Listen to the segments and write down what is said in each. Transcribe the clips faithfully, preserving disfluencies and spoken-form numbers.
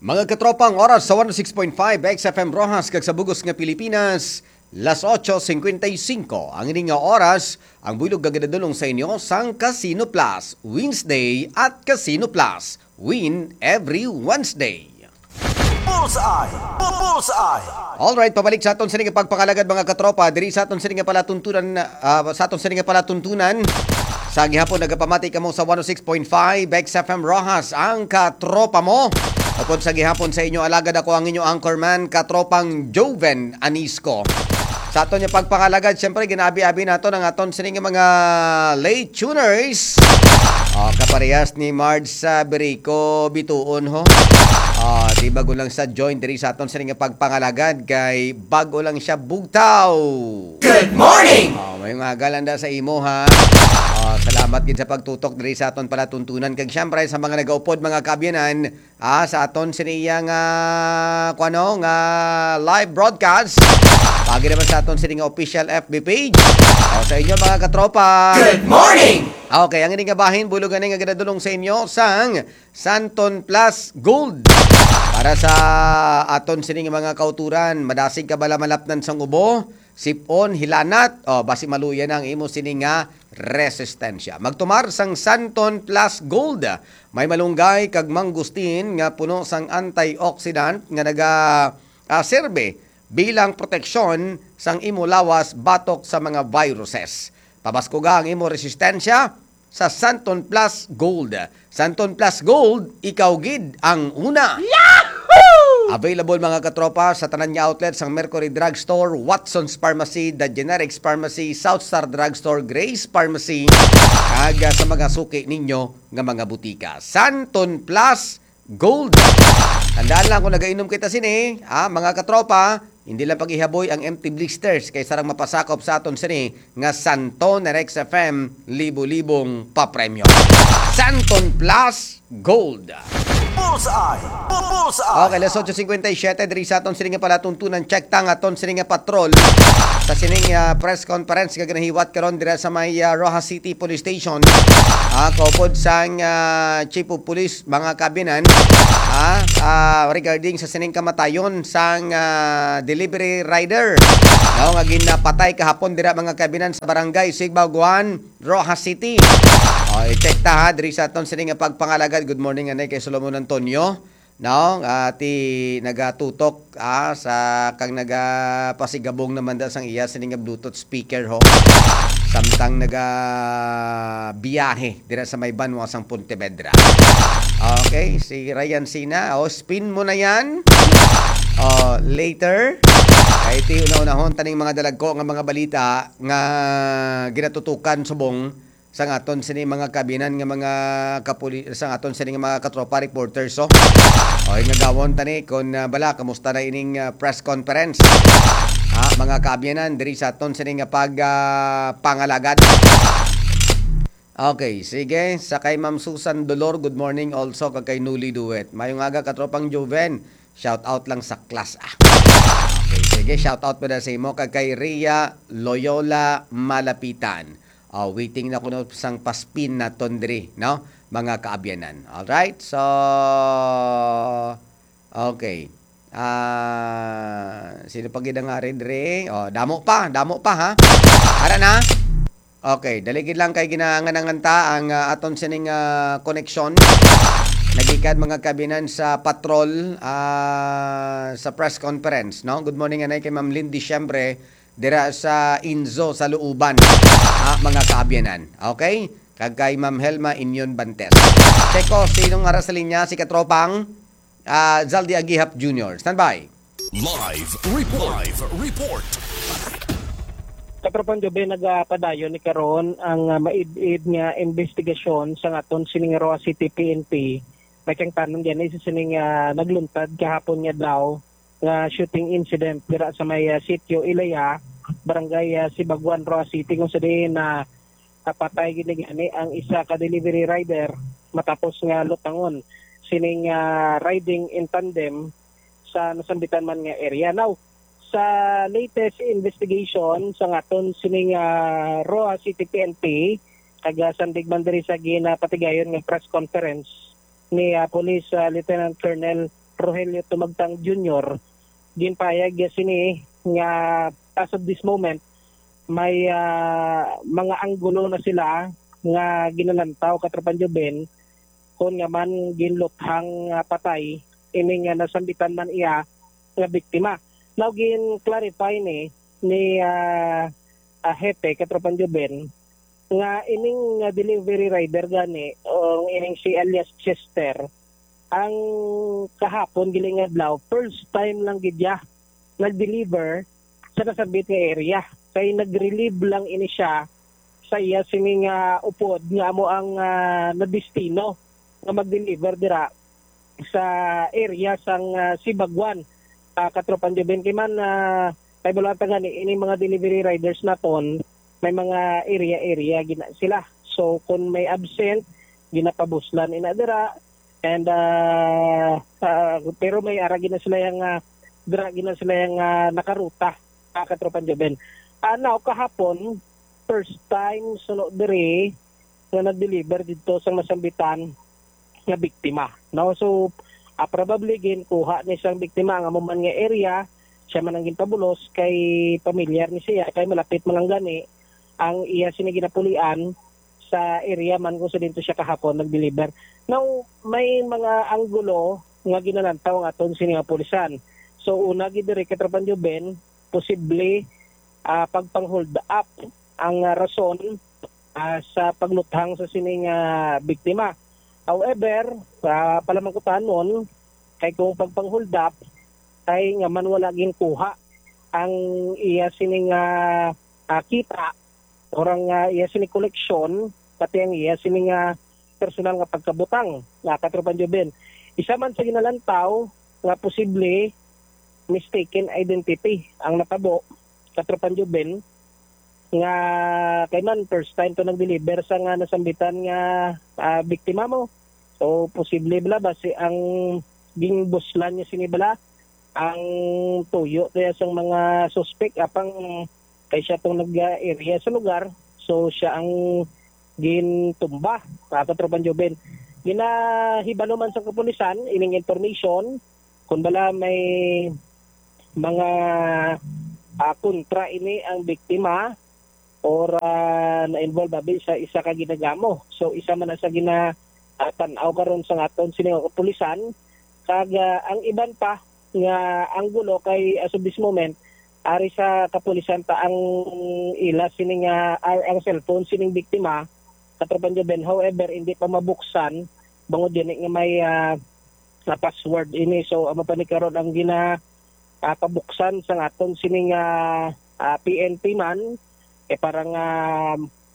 Mga katropa, ang oras sa one oh six point five X F M Roxas kag sa bugos nga Pilipinas, las ocho cincuenta y cinco. Ang ini nga oras, ang buylog nga ginadulong sa inyo sang Casino Plus Wednesday at Casino Plus Win every Wednesday. Bullseye! Bu- Bullseye! Alright, pabalik sa aton sini nga pagpangalagad, mga katropa, diri sa aton sini nga palatuntunan, ah, sa aton sini nga palatuntunan. Sa gihapon, nagapamati kamo sa one oh six point five X F M Roxas, ang katropa mo. Upod sa gihapon sa inyo, alagad ako ang inyo anchorman, katropang Joven Anisco. Sa aton nga pagpangalagad, siyempre, ginabi-abi nato ang aton sini nga mga late tuners. Oh, kaparehas ni Marge sa Birico Bituon, ho. Oh, di bago lang sa join diri sa aton sini nga pagpangalagad kay bago lang siya bugtaw. Good morning! Oh, may mga galanda sa imo, ha. Oh, salamat gid sa pagtutok diri sa aton palatuntunan kag siyempre sa mga nagaupod, mga kaabyanan, ah, sa aton sini iya nga, kuano, nga live broadcast. Pagi naman sa aton sini nga official F B page. Oh, sa inyo, mga katropa. Good morning! Okay, ang ini nga bahin, bulogan nga ginadulong sa inyo sang Santon Plus Gold. Para sa aton sini nga mga kauturan, madasig ka bala malapnan sang ubo, sipon, hilanat, o basi maluya na ang imo sini nga resistensya. Magtumar sang Santon Plus Gold. May malunggay kag mangustin nga puno sang antioxidant nga naga, ah, serbe bilang proteksyon sang imo lawas batok sa mga viruses. Pabaskuga ang imo resistensya sa Santon Plus Gold. Santon Plus Gold, ikaw gid ang una. Yahoo! Available, mga katropa, sa tanan nga outlet sang Mercury Drugstore, Watson's Pharmacy, The Generics Pharmacy, South Star Drugstore, Grace Pharmacy, kag, ah, sa mga suki ninyo nga mga butika. Santon Plus Gold. Tandaan lang, kung nagainom kita sini, ah, mga katropa, hindi lang pag-ihaboy ang empty blisters kay sarang mapasakop sa aton sini nga Santon Rex F M libo-libong papremyo. Santon Plus Gold. Bullseye! Bu- Bullseye! Okay, las ocho cincuenta y siete, diri sa aton sini nga palatuntunan, check ta nga aton sini nga patrol sa sining, ah, press conference nga ginahiwat karon dira sa may, ah, Roxas City Police Station. Ah, kaupod sang, ah, Chief of Police, mga kabinan, ah, ah, regarding sa sining kamatayon sang, ah, delivery rider, no, nga ginapatay kahapon dira, mga kabinan, sa barangay Sigbaguan, Roxas City. O, i-check ta, ha, diri sa aton sini nga pagpangalagad. Good morning, anay, kay Solomon Antonio. No, ah, ti nagatutok, ah, sa kang nagapasigabong naman da sang iya sini nga Bluetooth speaker, ho. Samtang nagabiyahe dira sa may banwa sang Pontevedra. Okay, si Ryan Sina, oh, spin mo na yan. Oh, later. Kay ti una-unahon taning mga dalagko nga mga balita nga ginatutukan subong sang aton sini mga kabinan nga mga kapuli-, sang aton sini nga mga katropa reporters, so. Oy, nga gawon tani kon, ah, bala, kamusta na ining, ah, press conference? Ha, mga kaabyanan, diri sa aton sini nga pag, ah, pangalagad. Okay, sige. Sa kay Ma'am Susan Dolor, good morning also kag kay Nuli Duet. Mayong aga, katropang Joven. Shout out lang sa class, ah. Okay, sige, shout out pa na sa imo kag kay Ria Loyola Malapitan. Oh, waiting na kuno sang paspin naton diri, no? Mga kaabyanan. All right? So, okay. Ah, sino pa gid ang ari diri? Oh, damo pa, damo pa, ha? Ara na. Okay, dali gid lang kay ginaangan-angan ta ang, ah, aton sining, ah, koneksyon. Nagikan, mga kabinan, sa patrol, ah, sa press conference, no? Good morning, anay, kay Ma'am Lindy, siyempre, dira sa Inzo, sa Looban, ah, mga kaabyanan. Okay? Kag kay Ma'am Helma Inyon Bantes. Check ko, sinong ara sa linya? Si katropang, ah, Zaldi Agihap Junior. Standby. Live report. Live report. Katropang Jobe, nagapadayon ni karon ang, ah, maid-id nga investigasyon sa aton sining Roxas City P N P. May kangtanon gani sa sining, ah, nagluntad kahapon nga adlaw nga shooting incident dira sa may, ah, Sitio Ilaya, Barangay, ah, Sibaguan, Roxas City, kung sa diin na napatay gid gani ang isa ka delivery rider matapos nga lutangon sining, ah, riding in tandem sa nasambitan man nga area. Now, sa latest investigation sa aton sining, ah, Roxas City P N P, kag, ah, sandig man diri sa ginapatigayon nga press conference ni, ah, Police, ah, Lieutenant Colonel Rogelio Tumagtang Junior, ginpahayag niya sini nga as of this moment, may, ah, mga anggulo na sila nga ginalantaw, Katropang Joven, kon nga man ginluthang nga patay ini nga nasambitan man iya nga biktima. Now, gin-clarify ni, ni, ah, ah, Hepe, Katropang Joven, nga ining, ah, delivery rider gani, o ining si alias Chester, ang kahapon, gali nga adlaw, first time lang gid niya nag-deliver sa nasambit nga area. Kay nag-relieve lang ini siya sa iya sini nga upod nga amo ang, ah, nadestino nga mag-deliver dira sa area sang, ah, Sibagwan. Ah, Katropang Joven, kay man, ah, kay bulan ta gani, ini mga delivery riders naton, may mga area-area gina sila. So, kung may absent, ginapabuslan ina dira, and, ah, ah, pero may ara gina sila yang, ah, dira gina sila yang, ah, nakaruta, ah, Katropang Joven. Ah, now, kahapon, first time suno diri nga nag-deliver didto sa nasambitan nga biktima, no? So, ah, probably ginkuha ni sang biktima ang amo man nga area, siya man ang ginpabulos kay pamilyar ni siya, kay malapit man lang gani ang iya sini ginapulian sa area man kung sa didto siya kahapon nag-deliver. Now, may mga anggulo nga ginalantaw ang aton sini nga pulisan. So, una gid diri, Katropang Joven, posible, ah, pagpang-hold up ang, ah, rason, ah, sa pagluthang sa sining, ah, biktima. However, ah, palamangkutanon, kay kung pagpang-hold up, kay nga man wala ginkuha ang iya sining, ah, ah, kita, or ang, ah, iya sining koleksyon, pati ang iya sining, ah, personal nga pagkabutang, nga, Katropang Joven. Isa man sa ginalantaw nga posible mistaken identity ang natabo, Katropang Joven, nga kay man first time to nag-deliver sa nga nasambitan nga, ah, biktima mo. So, posible bala ba si ang ginbuslan niya sini bala ang tuyo kaya sang mga suspek, apang kay siya tong nag-area sa lugar, so siya ang gintumba, mga Katropang Joven. Ginahibalo man sa kapulisan ining information kung bala may mga, ah, kontra ini ang biktima or, ah, na-involve abi sa isa ka ginagamo. So, isa man na sa gina, ah, tan-aw karon sa aton sini nga kapulisan. Kag, ah, ang iban pa nga anggulo kay as of this moment, ari sa kapulisan ta ang ila sini nga, ah, ang cellphone sining biktima, Katropang Joven. However, hindi pa mabuksan bangod gani nga may, ah, nga password ini. So, amo pa ni karon ang gina, ah, pabuksan sang aton sining, ah, ah, P N P man, eh, para nga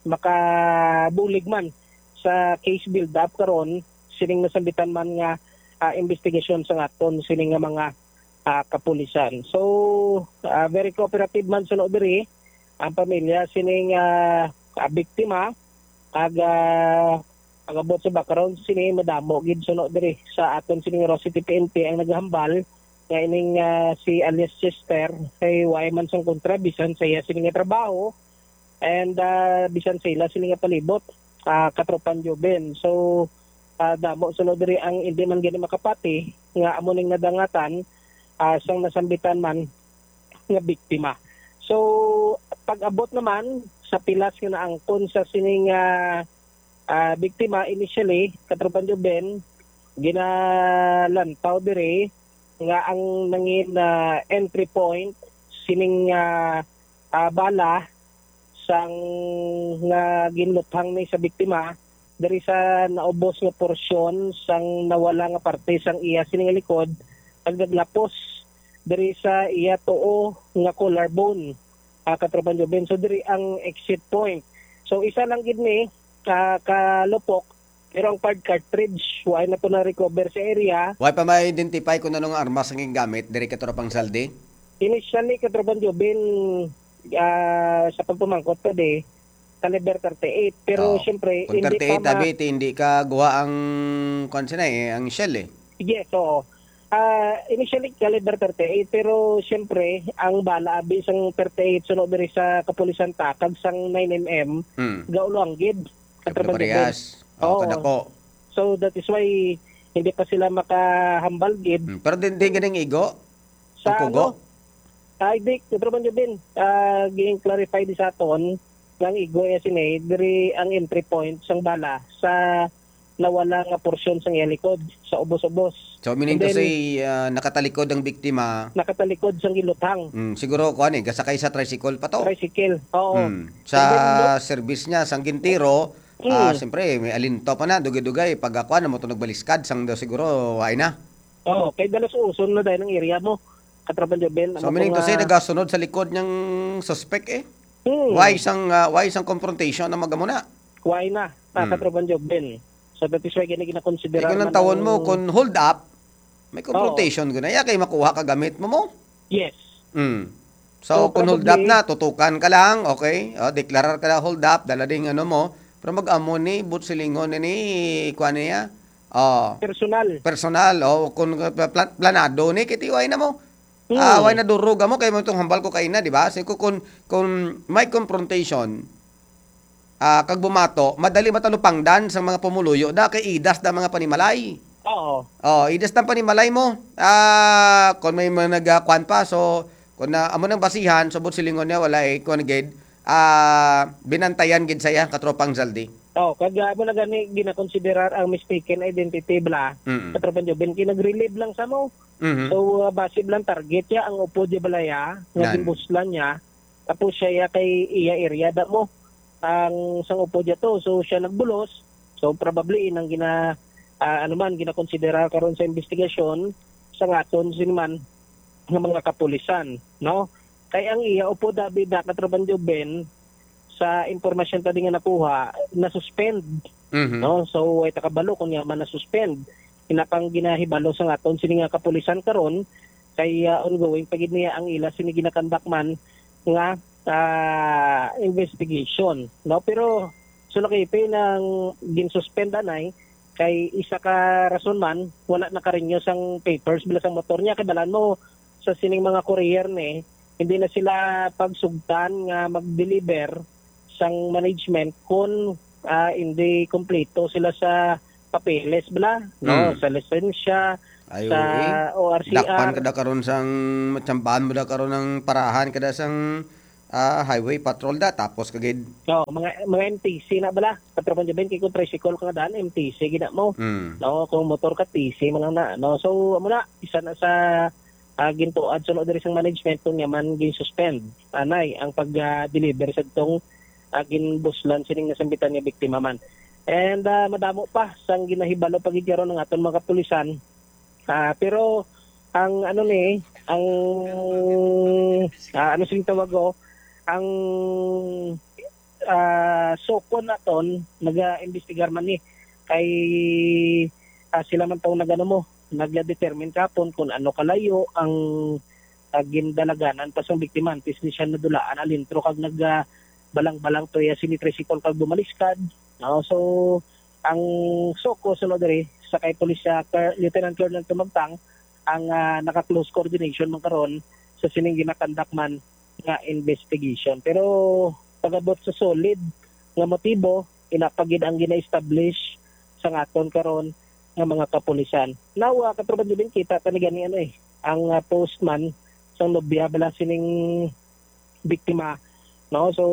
makabulig man sa case build-up karon sining nasambitan man nga, ah, investigasyon sang aton sining nga mga, ah, kapulisan. So, ah, very cooperative man suno diri ang pamilya sining, ah, ah, biktima, kag, ah, pag-abot sa background sini, madamo gid suno diri sa aton sining Roxy T P N P ang naghambal nga ining, ah, si alias Chester kay wala man sang kontra bisan sa iya sini nga trabaho and, ah, bisan sa ila sini nga palibot, ah, Katropang Joven. So, ah, damo suno diri ang hindi man gani makapati nga amo ning nadangatan, ah, sang nasambitan man nga biktima. So, pag-abot naman sa pilas nga naangkon sa sining, ah, ah, biktima, initially, Katropang Joven, ginalantaw diri nga ang nangin, ah, entry point sining, ah, ah, bala sang nga ginluthang ni sa biktima diri sa naubos nga porsyon sang nawala nga parte sang iya sini nga likod, kag naglapos diri sa iya tuo nga collarbone, ah, Katropang Joven. So, diri ang exit point. So, isa lang gid ni, ah, ka lupok, pero ang fired cartridge, wala na to na-recover sa area. Wala pa ma-identify kung anong armas ang gingamit diri, Katropang Saldi? Initially, Katropang Joven, ah, sa pagpamangkot pa di, caliber thirty-eight. Pero, oh, siyempre, kung hindi thirty-eight pa ma- abi, ti hindi ka guha ang, kwan sina eh, ang shell eh. Yes, oo. Ah, initially, caliber thirty-eight, pero siyempre, ang bala abi sang thirty-eight suno diri sa kapulisan ta, kag sang nine M M, hmm, gaulo ang gid. Siyempre, Katropang Joven, parehas. Oh, oo, kadako. So, that is why hindi pa sila makahambal gid. Hmm, pero din, din ganing igo? Sa Ang kugo? ano? Ay, di, Katropa Jubin, ah, ging-clarify di sa aton nga ang igo iya sini, diri ang entry point sang bala sa nawala nga porsyon sang iya likod, sa ubos-ubos. So, meaning And to then, say, ah, nakatalikod ang biktima. Nakatalikod sang giluthang. Mm, siguro, kuwan eh, gasakay sa tricycle pa to. Tricycle, oo. Mm. And then, Sa service niya, sang gintiro, ah, Mm. siyempre, may alinto pa na, dugay-dugay, pag ako, ano mo to nagbaliskad, sang daw siguro, why na? Oo, kay dalas uson na dahil ang area mo, Katropa Jubin. So, Amo ko meaning to nga say, nagasunod sa likod niyang suspect eh? Hmm. Why sang, ah, why sang confrontation na magamuna? Why na, ah, Hmm. Katropa Jubin? So, that is why gini ginakonsidera Ikaw lang man tawon mo, ang kung hold up, may Oo. confrontation ko na. Iya kay makuha ka gamit mo mo? Yes. Mm. So, So, kung hold up probably na, tutukan ka lang, okay? O, deklarar ka na hold up, dala ding ano mo. Pero mag-amo ni, but silingon ni, kuha niya. O, Personal. personal, o, kung pla-, planado ni, kay T Y na mo. Hmm. Ah, why na durog mo? Kay mo itong hambal ko kaina, di ba? Sige ko, kung, kung may confrontation, ah, kag bumato, madali matalupangdan sang mga pumuluyo da, kay idas da mga panimalay. Oo. Oh, idas da panimalay mo. Ah, kung may mga nagakwan pa, so, kung na, amo nang basihan, subot silingon niya, wala eh, kung gid, ah, binantayan gid saya, katropang Zaldi. Oh, kag, ah, amo na gani ginakonsiderar ang mistaken identity bala, Mm. katropang Jubin, kay nag-relieve lang sa mo. Mhm. So, ah, base lang target ya, ang upod ya balaya, nga Nan. gimbuslan niya, Tapos siya iya kay iya area da mo. Ang sang upod niya to, so siya nagbulos. So probably inang gina ah, ano man ginakonsidera karon sa investigasyon sa ngaton sini man nga mga kapulisan, no? Kay ang iya upod abi da, Katropan Joven, sa impormasyon ta di nga nakuha, na-suspend, Mhm. no? So way ta kabalo kung iya man na-suspend. Ina pang ginahibalo sa ngaton sini nga kapulisan karon, kay, ah, ongoing pa gid niya ang ila sini ginakandak man nga, ah, investigation, no? Pero so nakipin ang ginsuspend anay kay isa ka rason man, wala nakarenew sang papers bala sang motor niya. Kay balaan mo sa sining mga courier ni, hindi na sila pagsugtan nga mag-deliver sang management kung, ah, hindi kompleto sila sa papeles bala, no? Hmm. Sa lisensya, Ay, sa oo, eh. O R C R. Dakpan ka da karon sang matsambahan mo da karon ang parahan ka da sang, ah, highway patrol da, tapos ka gid. Oo, mga, mga M T C na bala. Katropang Joven, kay kung tricycle ka nga daan, M T C gid na mo. Hmm. No, kung motor ka, T C man lang na, no? So, amo na, isa na sa, ah, gintuad suno diri sang management, kung nga man gin-suspend anay ang pag, ah, deliver sa tong, ah, ginbuslan sining nasambitan nga biktima man. And, ah, madamo pa sang ginahibalo pa gid karon ang aton mga kapulisan. Ah, pero ang ano ni, ang, ah, ano sing tawag ko, ang, ah, SOCO naton naga-imbestigar man ni kay, ah, sila man tong nagano mo, nagdetermine kapon kung ano kalayo ang, ah, gindalaganan pa sang biktima antes ni siya nadulaan alintro kag nag, ah, balang-balang to iya sini tricycle kag bumaliskad. No? So, ang SOCO sunod diri sa kay Pulisya Car-, Lieutenant Colonel Tumagtang ang, ah, naka-close coordination man karon sa sining ginakandak man nga investigation. Pero pag-abot sa solid nga motibo, ina pa gid ang gina-establish sa ngaton karon nga mga kapulisan. Now, ah, Katropa Jubin, kita ta ni gani ano eh, ang, ah, post man sang nobya bala sining biktima, no? So,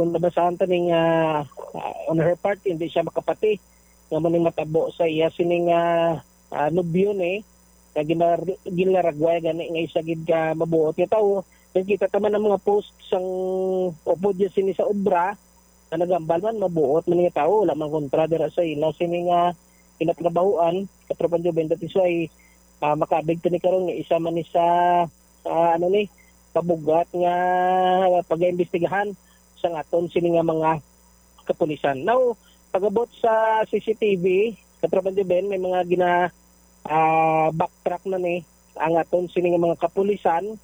nabasahan ta ning, ah, ah, on her part, hindi siya makapati nga mo ning matabo sa iya sining, ah, ah, nobyo ni, nga ginar-, ginlaragway gani nga isa gid ka mabuot nga tawo. Kay kita ta man ang mga post sang upod niya sini sa obra, nga nagambal man, mabuot man nga tawo, wala man kontra dira sa ila sini nga ginatrabahoan, Katropan Joven. That is why, ah, makabig ta ni karon nga isa man ni sa, ah, ano ni, pabugat nga pagaimbestigahan sa ngaton sini nga mga kapulisan. Now, pag-abot sa C C T V, Katropan Joven, may mga gina-, ah, backtrack na ni ang aton sini nga mga kapulisan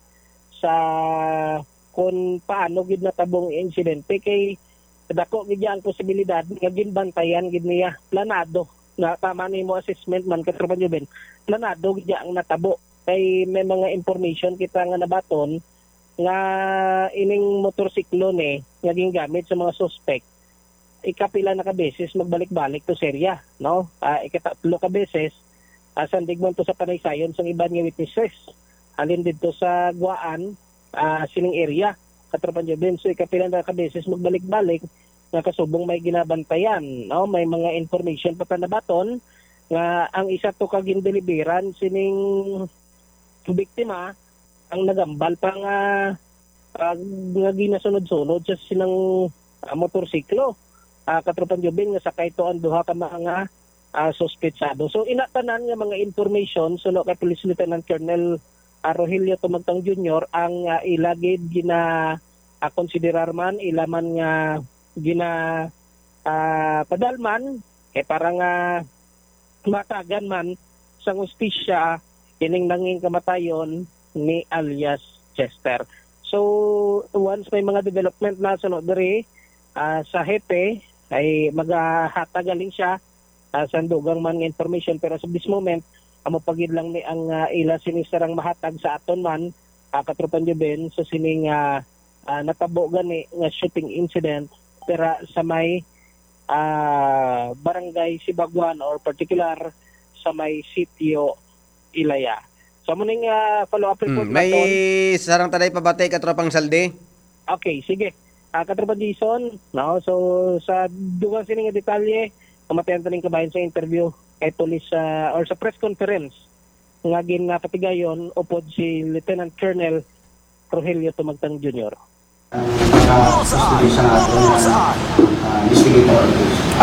sa kung paano gid natabong ang insidente, kay dako gid ang posibilidad nga ginbantayan gid niya, planado. Na tama ni mo assessment man, Katropan Joven, planado gid ang natabo. Kay may mga information kita nga nabaton nga ining motorsiklo ni nga gingamit sa mga suspect, ikapila na ka beses magbalik-balik to sa area, no? Ah, ikatatlo ka beses ah, sandig man to sa panaysayon sang iban nga witnesses halin didto sa Guaan, ah, sining area, Katropang Jubin. So, ikapila na ka beses magbalik-balik nga kasubong may ginabantayan, no? May mga information pa ta nabaton nga ang isa to ka gindeliveran sining biktima ang nagambal pa nga, ah, nga ginasunod-sunod sa sinang, ah, motorsiklo, ah, Katropang Jubin, nga sakay to ang duha ka mga, ah, suspetsado. So, ina tanan nga mga information suno kay Police Lieutenant Colonel, ah, Rogelio Tumagtang Junior ang, ah, ila gid gina, ah, konsiderar man, ila man nga gina, ah, padalman kay para nga matagan man sang hustisya ining nanging kamatayon ni alias Chester. So, once may mga development na suno diri, ah, sa hepe, ay magahatag galing siya, ah, sa dugang man nga information. Pero as of this moment, amo pa gid lang ni ang, ah, ila sini sarang mahatag sa aton man, ah, Katropang Jubin, sa sining, ah, ah, natabo gani nga shooting incident dira sa may, ah, Barangay Sibaguan, or particular sa may Sitio Ilaya. So, amo ning, ah, follow-up report Mm, may naton. Sarang ta diay pabati, Katropang Saldi. Okay, sige. Ah, Katropang Jason, no? So, sa dugang sini nga detalye, kamatayan ta ning kabahin sa interview kay police, ah, or sa press conference nga ginapatigayon upod si Lieutenant Colonel Rogelio Tumagtang Junior. Ang mga suspect sa aton nga, ah, investigator.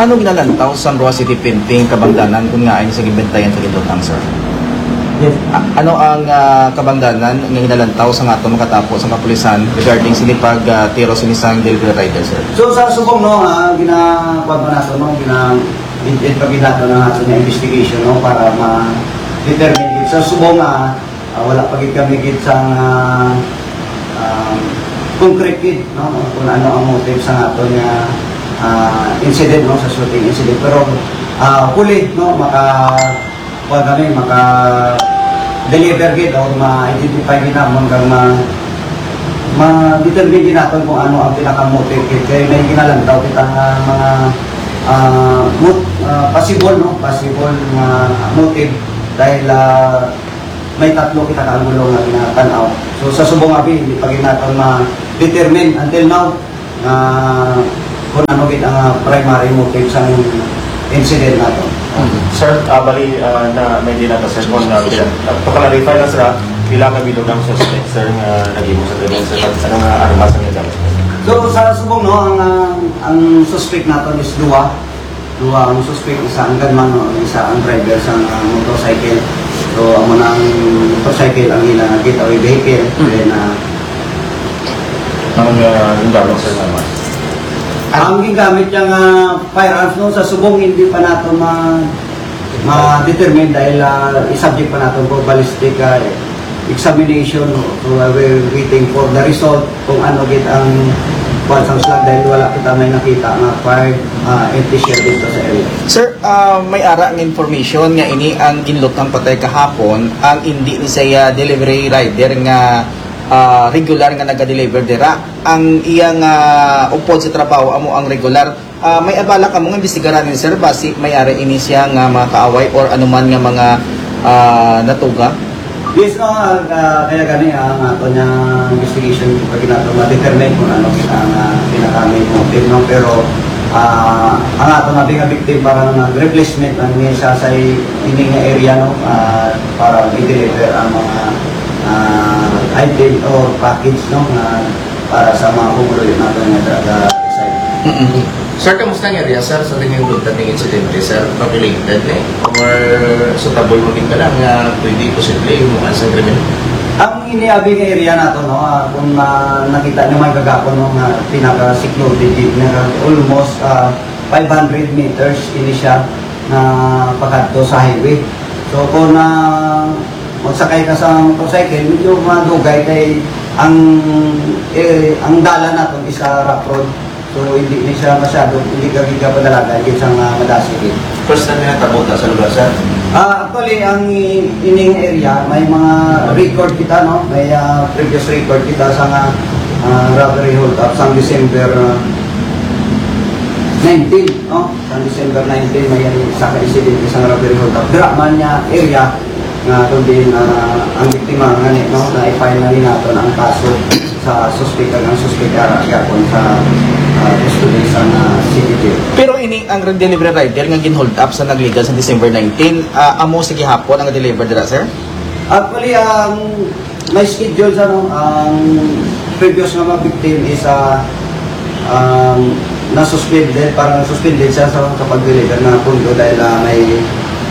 Ano ginalantaw sang Roxas City Printing kabangdanan kon ngaa ini sa ginbentayan sa Gindutang, sir? Yes. A-, ano ang, ah, kabangdanan nga ginalantaw sa nga aton makatapo sa kapulisan regarding sini pag, ah, tiro sini sang delivery rider, sir? So, sa subong, no, ah, gina-, kuwan pa nato, no, gina-, in-, in-, pag-, nato na nato nga investigation, no, para ma-determine. Sa subong, ah, Ah, wala pa gid kami gid sang, ah, ah, concrete gid, no, kung ano ang motive sa aton nga, ah, incident, no, sa shooting incident. Pero, ah, hopefully, no, maka, kuwan kami, maka-deliver gid o ma-identify gid namon kag ma-, ma-determine gid naton kung ano ang pinaka-motive gid. Kay may ginalantaw kita nga mga, ah, mot-, ah, possible, no, possible nga motive dahil, ah, may tatlo kita ka anggulo nga ginatan-aw. So, sa subong abi, hindi pa gid naton ma-determine until now nga kung ano gid ang, ah, primary motive sa incident nato. Sir, ah, bali, ah, na may di na, sir, kung, ah, to clarify na, sir, ah, pila ka bilog ang suspect, sir, nga naghimo sa krimen, sir? Ano nga armas ang nagamit? So, sa subong, no, ang, ah, ang suspect naton is duha. Duha ang suspect, isa ang gunman, no, isa ang driver sa, ah, motorcycle. So, amo na ang motorcycle ang ila nga getaway vehicle. Mm. Then, ah, Ang, ah, ang gamit, sir, naman? Ang gingamit niya nga firearms, no, sa subong hindi pa nato ma-, ma-determine dahil, ah, i-subject pa nato for ballistic, ah, examination, no? So, uh, we're waiting for the result kung ano gid ang kuwan sang slug dahil wala kita may nakita nga fired, ah, empty shell dito sa area. Sir, ah, may ara nga information nga ini ang ginlutang patay kahapon, ang indi ni siya delivery rider nga, ah, regular nga naga-deliver dira. Ang iyang, ah, upod sa trabaho amo ang regular. Ah, may abala kamo nga imbestigaran ni sir, basi may ara ini siya nga mga kaaway or anuman nga mga, ah, natuga? Yes, no, ah, ah, kaya gani, ah, ang ato niya investigation, pag nato ma-determine kung ano ang, ah, pinaka-main motive, no? Pero, ah, ang ato na nga victim para nag-replacement ang ni sa, sa i-, ini nga area, no? Ah, para i-deliver ang mga, ah, item or package, no? Nga para sa mga pumuluyo nato nga taga-, taga-resign. Mm-mm. Sir, kamusta ang area, sir, sa tingin mo ning insidente, sir? Populated ni? Or suitable mo din ka lang nga pwede posible yung mukha sa krimen? Ang iniabi nga area nato, no, ah, kung, ah, nakita nyo may kagapon, no, nga pinaka-secluded din, nga almost, ah, five hundred meters ini siya na pakadto sa highway. So, kung, ah, magsakay ka sa motorcycle, medyo madugay kay ang, eh, ang dalan naton is sa rough road. So, hindi ni siya masyado, hindi ka gid ka padalagan gid sa nga madasig gid. First time na natabo ta sa lugar, sir? Ah, actually, ang i-, ining area, may mga record kita, no? May, ah, previous record kita sa nga, ah, robbery hold up sa December, ah, nineteen, no? Sa December nineteen, may isa ka insidente sa robbery hold-up. Dira man nga area nga kundi na ang biktima nga ni, no, na i-file na ni nato ang kaso sa suspek, ang suspek ara gyapon sa, ah, custody sa, ah, C P P. Pero ini ang delivery rider nga gin-hold up sa nagligal sa December nineteen, ah, amo sa gihapon ang deliver dira, sir? Actually, ang may schedule sa, no, ang previous nga mga victim is, ah, um, na-suspended, parang suspended siya sa kapag-deliver na pundo dahil, ah, may,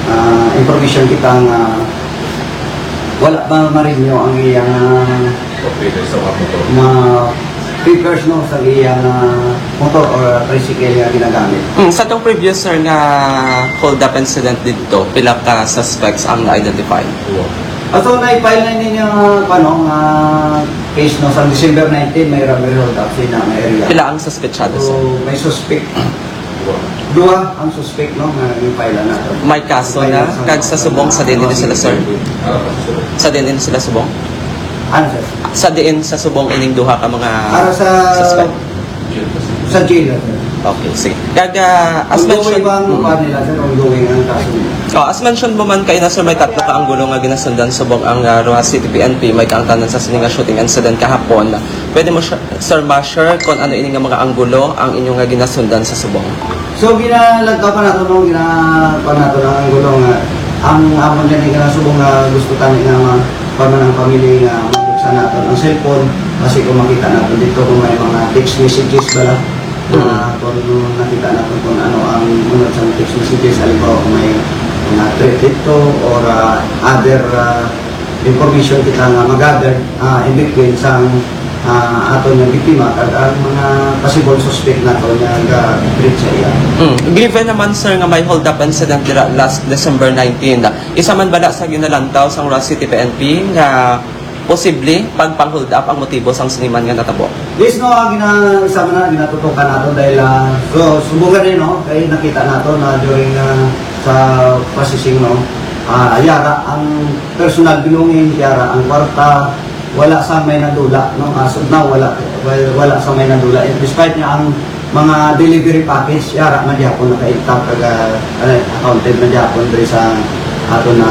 ah, information kita nga wala pa ma-renew ang iyang, ah, Papeles sa mga motor. mga papers, no, sa iyang, ah, motor or tricycle nga ginagamit. Mm, sa tong previous, sir, nga hold-up incident dito, pila ka suspects ang na-identify? Duha. Ah, so, na-file na ninyo, ah, ano, nga case, no, sa December nineteen, may robbery hold-up sa ina nga area. Pila ang suspetsado, sir? So, may suspect. Duha. Duha ang suspect, no, nga yung file na to. May kaso May na, kaso kag na. sa subong, sa diin din sila, sir? Ah, sa subong. Sa diin din sila subong? Ano, sir? Sa diin sa subong ining duha ka mga Para sa suspect? Sa jail, sir. Okay, sige. Kag, ah, as Ongoing mentioned, ba ang mm. kuha nila, sir? Ongoing ang kaso nila? Oh, as mentioned mo man kayo na, sir, may tatlo ka anggulo nga ginasundan subong ang, ah, Roxas City P N P, may kaangtanan sa sini nga shooting incident kahapon. Pwede mo, sir, sir, ma-share kung ano ini nga mga anggulo ang inyo nga ginasundan sa subong? So, ginalagkaw pa nato, no? Gina-, pa nato ang anggulo nga ang amon gani nga subong nga gusto tani nga ma-, pa man ang family nga mabuksan nato ang cellphone, kasi kung makita nato dito kung may mga text messages bala, Mm. ah, kung nakita nato kung ano ang unod sa text messages, halimbawa kung may mga threat dito or, ah, other, ah, information kita nga mag-gather, ah, in between sa, ah, aton nga biktima kag ang mga possible suspect nato nga ga-treat sa iya. Mm. Given naman, sir, nga may hold-up incident dira last December nineteen, isa man bala sa ginalantaw sang Roxas City P N P nga posible pagpang-hold up ang motibo sang siniman nga natabo? Yes, no, ang gina-, isa man na ginatutukan nato dahil, ah, so, subong gani, no, kay nakita nato na during, ah, sa processing, no, ah, yara ang personal belonging, yara ang kwarta, wala sa may nadula, no, as of now, wala, wala, wala sa may nadula. And despite nga ang mga delivery package, yara na gyapon naka-intact kag, ah, ano, accounted na gyapon diri sa ato na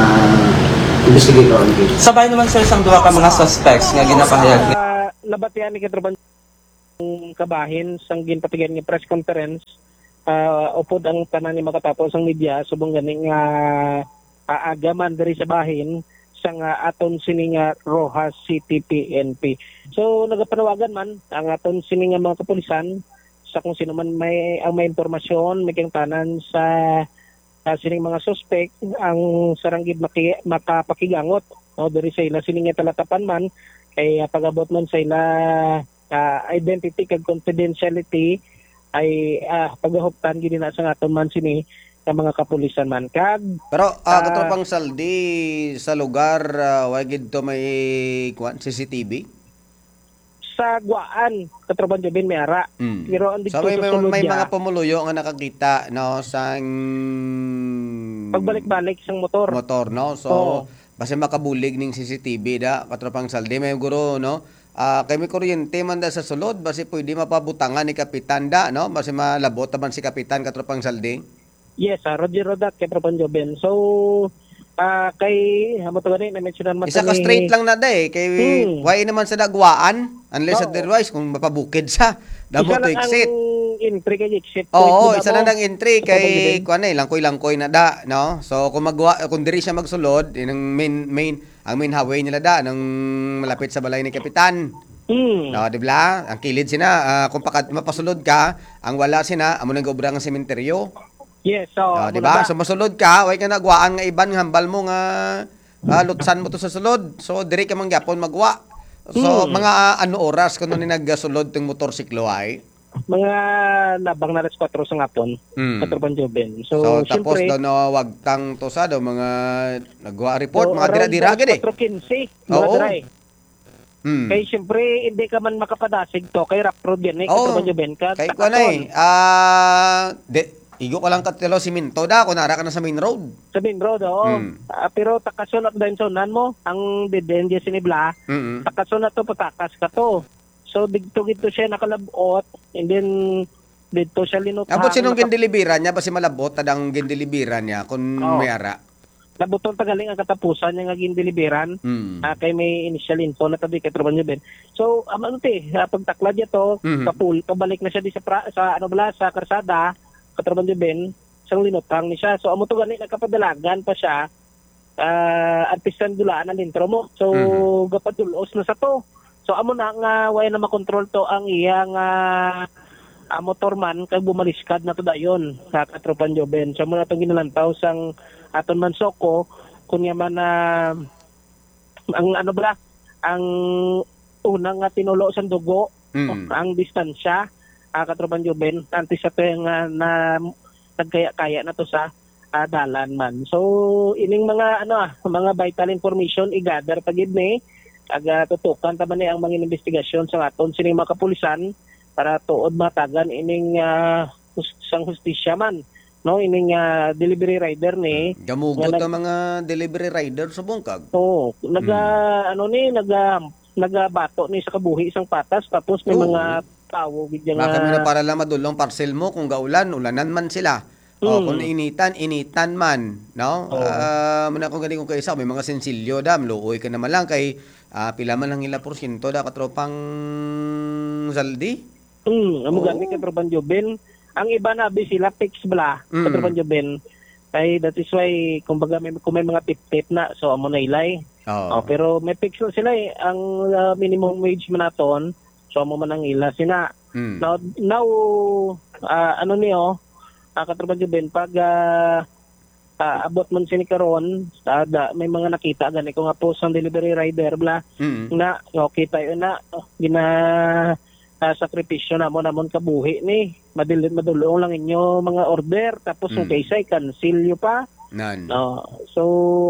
investigator on case. Sabay naman, sir, sang duha ka mga suspects nga ginapahayag ni Ah, nabatian ni Katropan kabahin sang ginpatigan nga press conference, ah, upod ang tanan ni makatapo sang media, subong gani nga aaga man diri sa bahin sang, ah, aton sini nga Roxas City P N P. So, nagapanawagan man ang aton sini nga mga kapulisan sa kung sino man may, ang may impormasyon, may kaangtanan sa, ah, sining mga suspek, ang sarang gid maki-, makapakigangot, no, diri sa ila sini nga talatapan man, kay, ah, pag-abot man sa ila, ah, identity kag confidentiality ay, ah, pagahuptan gid na sa aton man sini nga mga kapulisan man. Kag, Pero, ah, ah, Katropang Saldi, sa lugar, ah, way gid to may, kuwan, C C T V? Sa Guaan, Katropang Jobin, may ara. Mm. Pero ang So, dito may, sa may, sulod may niya, mga pumuluyo nga nakakita, no, sang pagbalik-balik sang motor. motor, no? So, Oo. basi makabulig ning C C T V da, Katropang Saldi, may guro, no? Ah, kay may kuryente man da sa sulod, basi pwede mapabutangan ni Kapitan da, no? Basi malabot naman si Kapitan, Katropang Saldi. Yes, ah, Roger Rodat, Katropang Jobin. So, ah, kay, amo to gani, na-mentionan man Isa to ka ni straight lang na da eh, kay Hmm. why naman sa Daguaan, unless Oo. otherwise, kung mapabukid sa, damo Isa to lang ang exit. entry kay exit point Oo, mo isa na lang ang entry Katropang kay, Jobin. kuwan eh, langkoy-langkoy na da, no? So, kung magwa-, kung diri siya magsulod, yun ang main, main, ang main highway nila da, nang malapit sa balay ni Kapitan. Hmm. No, di ba? Ang kilid sina, ah, kung pakad-, mapasulod ka, ang wala sina, amo nang obra nga sementeryo. Yes, so, No, amo di na ba? ba? So, masulod ka, way ka nagwaan nga iban nga hambal mo nga, ah, lutsan mo to sa sulod. So, diri ka man gyapon magwa. So, Hmm. mga, ah, ano oras kuno ni nagasulod tong motorsiklo ay? Mga labang na alas kwatro sa ngapon, Hmm. Katropang Joven. So, So, tapos siyempre, daw nawagtang to sa daw mga nagwa report, so, mga around dira-dira alas gid eh. kwatro quince, mga Oo. dira eh. Hmm. Kay siyempre, hindi ka man makapadasig to, kay rough road yan eh, Oo. Katropang Joven. Ka-, Kay takason. kuwan eh, ah, de-, igo ka lang katilo siminto da, kung nara ka na sa main road. Sa main road, oo. Hmm. Ah, pero takason at dahil sa unan mo, ang dead end dyan sinibla, Mm-mm. takason na to, patakas ka to. So, dito, dito siya nakalabot, and then, Dito siya linutang. Abot sinong na kap- gindeliveran niya? Basi malabot ta dang gindeliveran niya kung Oo. may ara. Nabuton ta galing ang katapusan niya nga gindeliveran. Mm. Ah, kay may initial info na tabi kay Tropa Joven. So, um, ano ti, ah, pagtaklad niya to, Mhm. kapul-, kabalik na siya di sa pra-, sa, ano bala, sa karsada, Katropa Joven, sang linutang ni siya. So, amo to gani, nagkapadalagan pa siya, ah, artisan dulaan ang lintro mo. So, Mhm. gapadulos na sa to. So, amo na nga, way na makontrol to ang iya nga, ah, motor man, kag bumaliskad na to dayon, sa Katropa Joven. So, amo na tong ginalantaw sang aton man Soko, kunya man, ah, ang ano bala, ang unang nga tinulo sang dugo, Mm. ang distansya, ah, Katropa Joven, antes sa to nga na, nagkaya-kaya na to sa, ah, dalan man. So, ining mga, ano, ah, mga vital information, i-gather pa gid ni, aga tutukan ta man ni ang mga investigasyon sa aton sining mga kapulisan para tuod matagan ining, ah, hus-, sang hustisya man, no, ining, ah, delivery rider ni Gamugot nga nag- ang mga delivery rider sa bungkag. Oo, naga, Mm. ano ni, naga, nagabato ni sa kabuhi sang patas, tapos may Oo. mga tawo gid nga Baka mo na para lang madulong parcel mo kung gaulan, ulanan man sila. O, Mm. kung initan, initan man, no? Oo. Ah, muna kung gani kung kaisa, may mga sensilyo da, maluoy ka naman lang kay, ah, pila man ang ila porsyento da, katropang Zaldi? Mm, amo Oo. gani, katropang Joven. Ang iba na, abi sila, fix bala, Mm. katropang Joven. Kay that is why, kumbaga, may, kung may mga tip-tip na, so amo na ilay. Oo. Oh, pero may fix na sila eh. Ang, ah, minimum wage man naton, so amo man ang ila sina. Mm. Now, now, ah, ano ni, oh, ah, Katropa Juben, pag, ah, ah, abot man sini karon, ah, da, may mga nakita gani ko nga post ang delivery rider bla, Mm. na, oh, kita yun na, oh, gina, ah, sakripisyo namon, namon kabuhi ni. Madil-, madulong lang inyo mga order, tapos yung Mm. kaysa i-cancel nyo pa. Nan. Oh, so,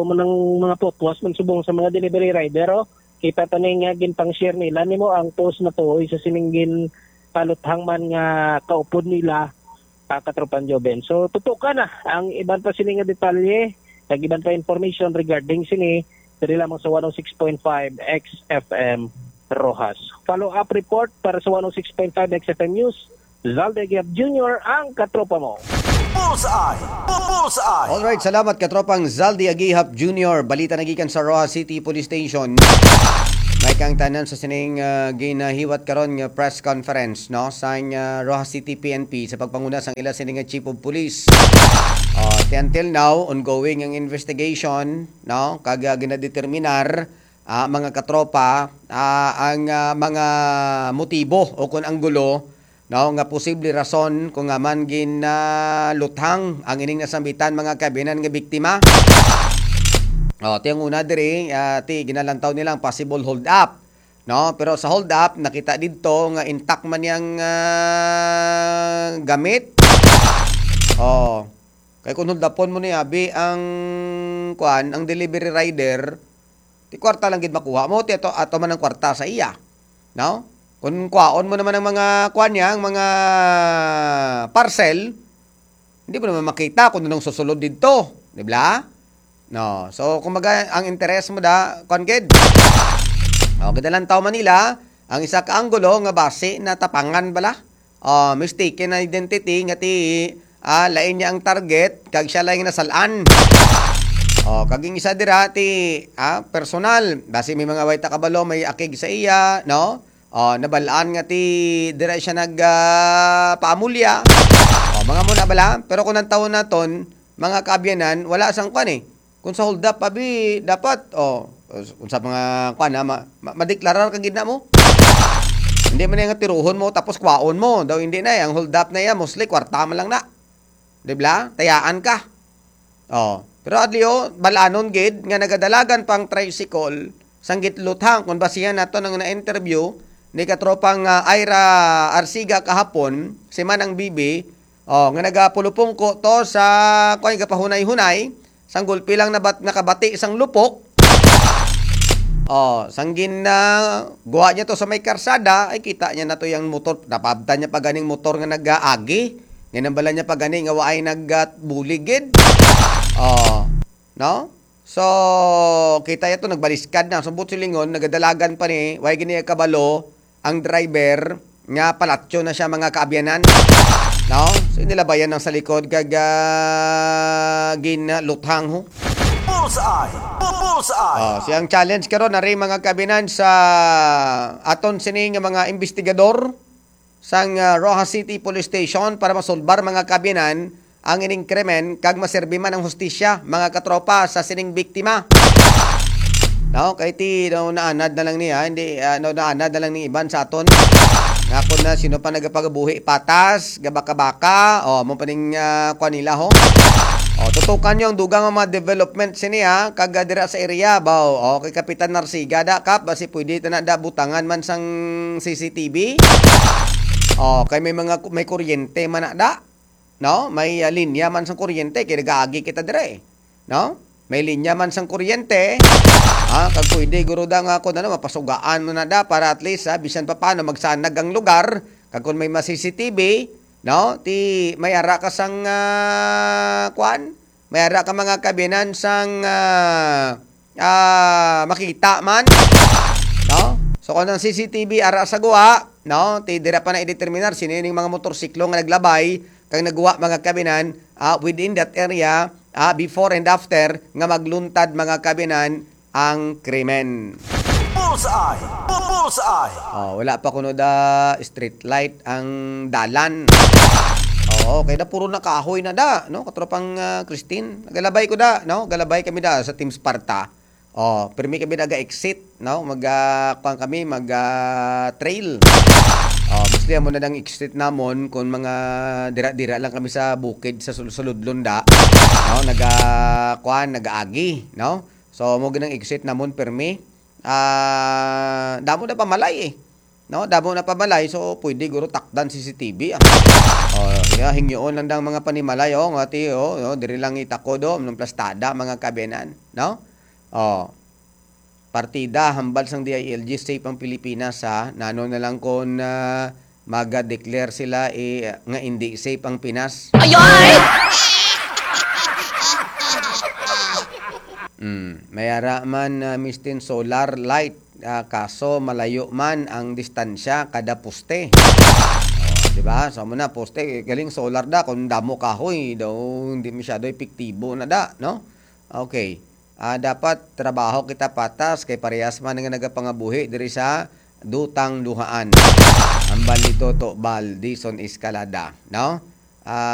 mo nang mga putwas man subong sa mga delivery rider, oh. Kita ta ni nga ginpang-share nila nimo ang post na to, isa sining ginpaluthang man nga kaupod nila, ah, Katropan Joven. So, tutukan na ang iban pa sini nga detalye, kag iban pa information regarding sini, diri lamang sa one oh six point five X F M Roxas. Follow-up report para sa one oh six point five X F M News. Zalde Giap Junior, ang katropa mo. Bullseye! Bu-, Bullseye! Alright, salamat, katropang Zaldi Agihap Junior. Balita na gikan sa Roxas City Police Station. May kang tanan sa sining, ah, ginahiwat karon nga press conference, no, sang, ah, Roxas City P N P sa pagpanguna sang ila sini nga Chief of Police. Ah, ti until now, ongoing ang investigation, no, kag, ah, ginadeterminar, ah, mga katropa, ah, ang, ah, mga motibo o kon anggulo, no, nga posible rason kung nga man gin, ah, luthang ang ining nasambitan, mga kabinan nga biktima. Oh, ti ang una diri, ah, ti ginalantaw nila ang possible hold up, no? Pero sa hold up, nakita didto nga intact man yang, ah, gamit. Oh, kay kung hold upon mo ni abi ang kuan, ang delivery rider, ti kwarta lang gid makuha mo, ti ato, ato man ang kwarta sa iya. No? Kung kwaon mo naman ang mga kuan niya, ang mga parcel, hindi mo naman makita kung anong susulod didto, di ba? No. So, kumbaga, ang interes mo da, kuan gid. O, gid lang tao Manila, ang isa ka anggulo nga basi na tapangan bala. Ah, mistaken identity nga ti, ah, lain niya ang target, kag siya lang nasal-an. Oh, kag yung isa dira ti, ah, personal. Basi may mga way ta kabalo, may akig sa iya, no? Oh, nabal-an nga ti dira siya nag, ah, paamulya. Oh, mga muna bala. Pero kung ang taon naton, mga kaabyanan, wala sang kwan eh. Kung sa hold up, abi, dapat, oh, kung sa mga, kwan, ha, ma-, ma-, madeklarar ka gid na mo. Hindi man nga tiruhon mo, tapos kwaon mo. Daw hindi na, eh. Ang hold up na yan, mostly, kwarta man lang na. Di ba? Tayaan ka. Oh. Pero adli, oh, balanon gid nga nagadalagan pang tricycle, sang gitluthang, kung basihan nato nang na-interview ni katropang, ah, Ira Arsiga kahapon, si Manang Bibi, oh, nga nagapulupungko to sa, kung gapahunay-hunay, sang gulpi lang nabat-, nakabati sang lupok. Oh, sang gin-, ah, guwa niya to sa may karsada, ay kita niya na to yung motor, napabtan niya pa ganing motor nga nag-aagi. Nga nang bala niya pa gani nga waay nagbuligid. Oh, no? So, kita niya to, nagbaliskad na. Subot silingon, nagadalagan pa ni, way gini kabalo ang driver, nga palatyo na siya, mga kaabyanan. No? So, inilabayan ang sa likod kag, ah, ginluthang, ho. Bullseye! Bu-, bullseye! Oh, siyang challenge karon, ari, mga kaabyanan, sa aton sini nga mga investigador sang, ah, Roxas City Police Station para masulbar, mga kaabyanan, ang ining krimen kag maserbi man ang hustisya, mga katropa, sa sining biktima. No, kay ti, no, naanad na lang niya, hindi, ah, no, naanad na lang ni iban sa aton. Nga kung na sino pa nagapagabuhi patas, gabaka-baka, o, mo pa ning, ah, kuwan nila, ho. O, tutukan niyo ang dugang nga mga development sini, ha, kag, ah, dira sa area, baw. O, kay Kapitan Narsiga, da, Kap, basi pwede ta na, da, butangan man sang C C T V. O, kay may mga, may kuryente man na, da. No? May, ah, linya man sang kuryente, kay nagaagi kita dire, eh. No? May linya man sang kuryente, ah, kag pwede, guro, da, nga kung ano, mapasugaan mo na, da, para at least, ah, bisan pa paano magsanag ang lugar, kag kung may ma-C C T V, no? Ti, may ara ka sang, ah, kwan? May ara ka, mga kaabyanan, sang, ah, ah, makita man, no? So, kung ang C C T V ara sa guwa, no? Ti, dira pa na i-determinar sino ning mga motorsiklo nga naglabay kag nagwa, mga kaabyanan, ah, within that area, ah, before and after nga magluntad, mga kaabyanan, ang krimen. Bullseye! Bu-, bullseye! Oh, wala pa kuno da street light ang dalan. Oo, kay da puro na kahoy na da, no? Katropang, ah, Christine, nagalabay ko da, no? Galabay kami da sa Team Sparta. Oh, pirmi kami naga-exit, no? Mag, ah, kuwan kami, mag, ah, trail. Oh, mostly amo na dang exit namon kung mga dira-dira lang kami sa bukid, sa sul-, sulod lunda, no? Naga, kuwan, nagaagi, no? So, mo ginang exit namon pirmi. Ah, damo na pamalay, eh. No, damo na pamalay, so pwede guro takdan C C T V, ah. Oh, ya, hingyoon lang dang mga panimalay, oh, nga ti, oh, oh, diri lang itakod, oh, ng plastada, mga kaabyanan, no? Oh. Partida, hambal sang D I L G, safe ang Pilipinas, ha? Nano na lang kung, ah, maga-declare sila, eh, nga hindi safe ang Pinas? Ayoy! Mm, may ara man, ah, mistin solar light, ah, kaso malayo man ang distansya kada poste. Oh, di ba? So, amo na, poste, galing solar da, kung damo kahoy, daw hindi masyado epektibo na da, no? Okay. Ah, dapat trabaho kita patas kay parehas man nga nagapangabuhi diri sa Dutang Duhaan. Hambal ni Toto Bal, Dison Escalada, no? Ah,